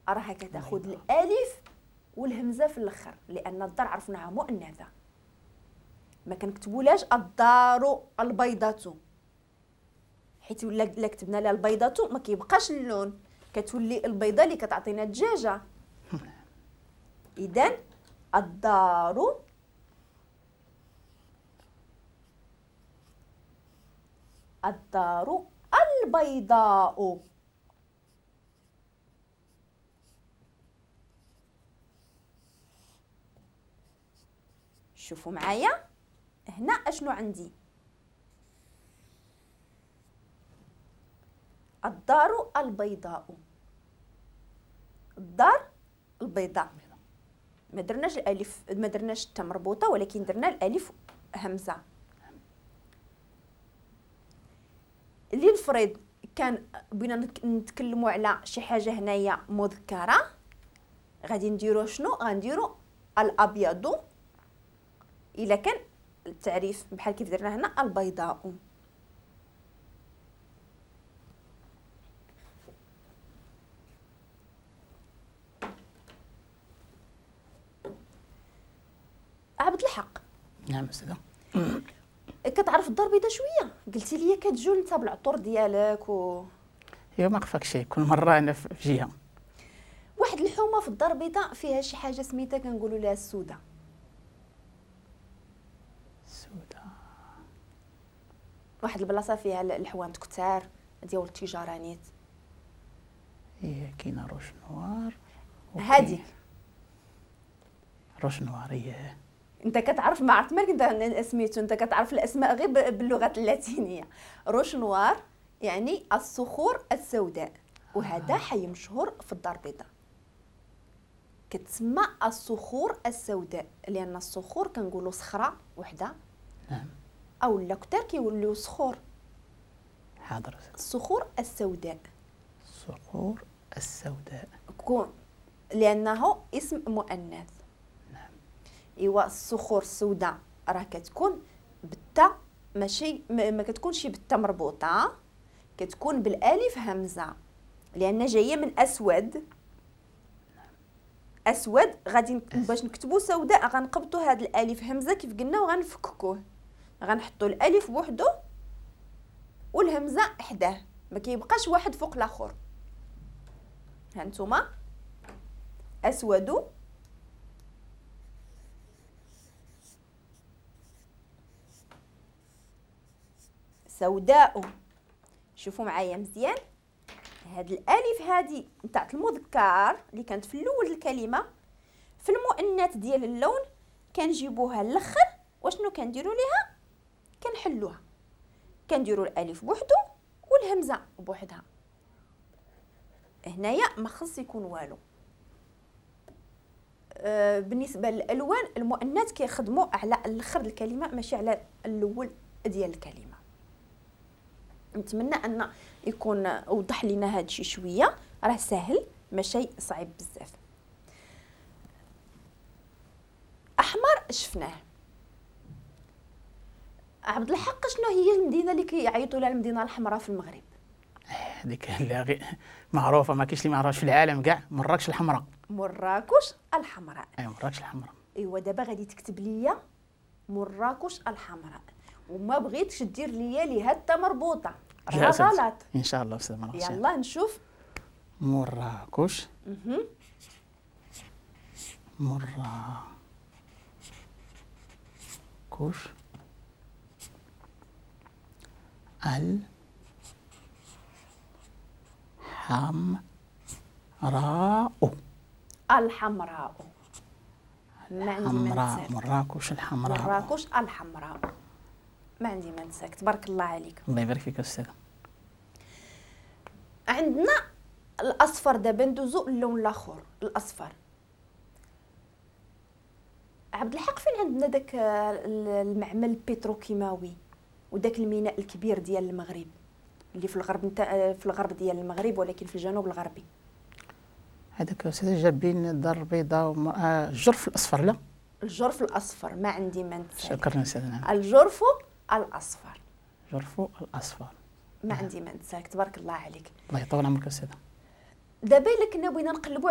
راها كتاخذ الالف والهمزة في الاخر، لان الدار عرفناها مؤنثة. ما كنكتبولاش الدار البيضاء، حيت ولا كتبنا لها البيضاء ما كيبقاش اللون، كتولي البيضة اللي كتعطينا الدجاجة. اذا الدار الدار البيضاء. شوفوا معايا هنا اشنو عندي، الدار البيضاء، الدار البيضاء. ما درناش الالف، ما درناش التاء مربوطة، ولكن درنا الالف همزه. اللي نفرض كان بغينا نتكلموا على شي حاجة هنايا مذكره، غادي نديرو شنو؟ غنديرو الابيض الا كان التعريف بحال كيف درنا هنا البيضاء. عبد الحق. نعم استاذه. كتعرف الدار البيضاء شوية؟ قلتي لي كتجول انت بالعطور ديالك و ايوا ما خفاك شي، كل مرة انا في جهة. واحد الحومه في الدار البيضاء فيها شي حاجة سميتها كنقولوا لها السوده. السوده واحد البلاصة فيها الحوانت كثار ديال التجارة نيت. هي كاينه Roches Noires هذيك Roches Noires. هي انت كتعرف، ما عرفت مالك انت سميتو، انت كتعرف الاسماء غير باللغة اللاتينية. Roches Noires يعني الصخور السوداء، وهذا حي مشهور في الدار البيضاء، كتسمى الصخور السوداء لان الصخور كنقولوا صخرة وحده. نعم. او لا كثار كيوليو صخور. حاضر. الصخور السوداء. الصخور السوداء كون لانه اسم مؤنث. نعم. ايوا الصخور السوداء راه كتكون بالتاء، ماشي ما كتكونش بالتاء مربوطة، كتكون بالالف همزه لان جاية من اسود. اسود غادي باش نكتبوا سوداء غنقبطوا هذا الالف همزه كيف قلنا وغنفككوه، غنحطوا الالف بوحدو والهمزة حداه، ما كيبقاش واحد فوق الاخر. ها نتوما اسود سوداء. شوفوا معايا مزيان، هاد الالف هادي نتاع المذكر اللي كانت في الاول الكلمة، في المؤنث ديال اللون كنجيبوها الاخر، واشنو كنديروا ليها؟ كنحلوها، كنديروا الالف بوحدو والهمزة بوحدها. هنايا ما خص يكون والو. بالنسبة للالوان المؤنث كيخدموا على الاخر الكلمة ماشي على الاول ديال الكلمة. نتمنى ان يكون وضح لنا هذا الشيء شوية، راه سهل ماشي صعيب بزاف. احمر شفناه. عبد الحق شنو هي المدينة اللي كيعيطوا لها المدينة الحمراء في المغرب؟ هذيك اللي معروفة، ما كاينش اللي ما عرفش في العالم كاع، مراكش الحمراء. مراكش الحمراء. ايوا مراكش الحمراء. ايوا دابا غادي تكتب لي مراكش الحمراء، وما بغيتش دير ليا ليها حتى مربوطة، راه غلط. ان شاء الله استاذ مراكش. يلا نشوف مراكش. مراكش الحمراء. الحمراء. ما عندي ما نساك. مراكش الحمراء. مراكش الحمراء. ما عندي ما نساك، تبارك الله عليك. الله يبارك فيك استاذه. عندنا الاصفر، دابا ندوزو اللون الاخر الاصفر. عبد الحق فين عندنا داك المعمل البتروكيماوي وداك الميناء الكبير ديال المغرب اللي في الغرب في الغرب ديال المغرب ولكن في الجنوب الغربي؟ هذاك استاذ جا بين الدار البيضاء الجرف الاصفر. لا الجرف الاصفر، ما عندي ما نتسالك. شكرا استاذ. الجرف الاصفر. الجرف الاصفر، ما عندي ما نتسالك، تبارك الله عليك. الله يطول عمرك استاذ. دابا الا كنا بغينا نقلبوا